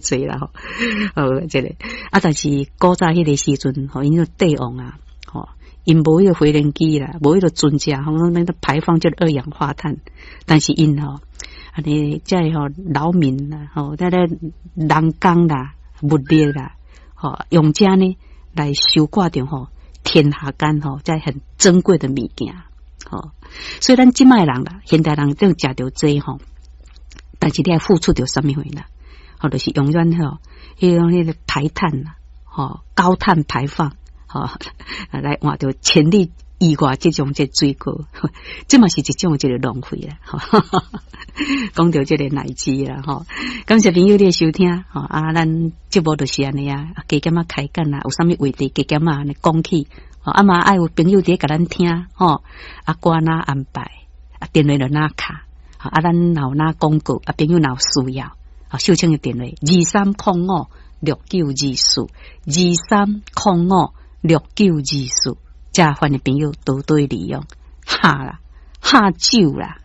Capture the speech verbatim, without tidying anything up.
濟啦吼。好，這個啊，但是古早彼個時陣吼，𪜶個帝王啊，吼，𪜶無彼個飛輪機啦，無彼個船隻，吼，那個排放這個二氧化碳，但是𪜶吼，按呢這個吼勞民啦，吼，這個人工啦、物力啦，吼，用這呢來收割著吼天下間吼，這很珍貴的物件，吼。所以咱這擺人啦，現代人都食著這吼，但是你愛付出著啥物貨啦？吼，就是永遠吼，彼種彼個排碳啦，吼，高碳排放，吼，來換著千里以外這種這水果，這嘛是一種這個浪費啦。講著這個奶雞啦，吼，感謝朋友你的收聽，吼啊，咱節目就是按呢啊，加減仔開講啦，有啥物話題加減仔按呢講起，啊嘛愛有朋友佇咧共咱聽，吼，啊歌哪安排，啊電話就哪敲，啊咱若有哪廣告，啊朋友若有需要，啊秀清的電話二三空五六九二四，二三空五六九二四，遮歡迎朋友多多利用，哈啦，哈酒啦。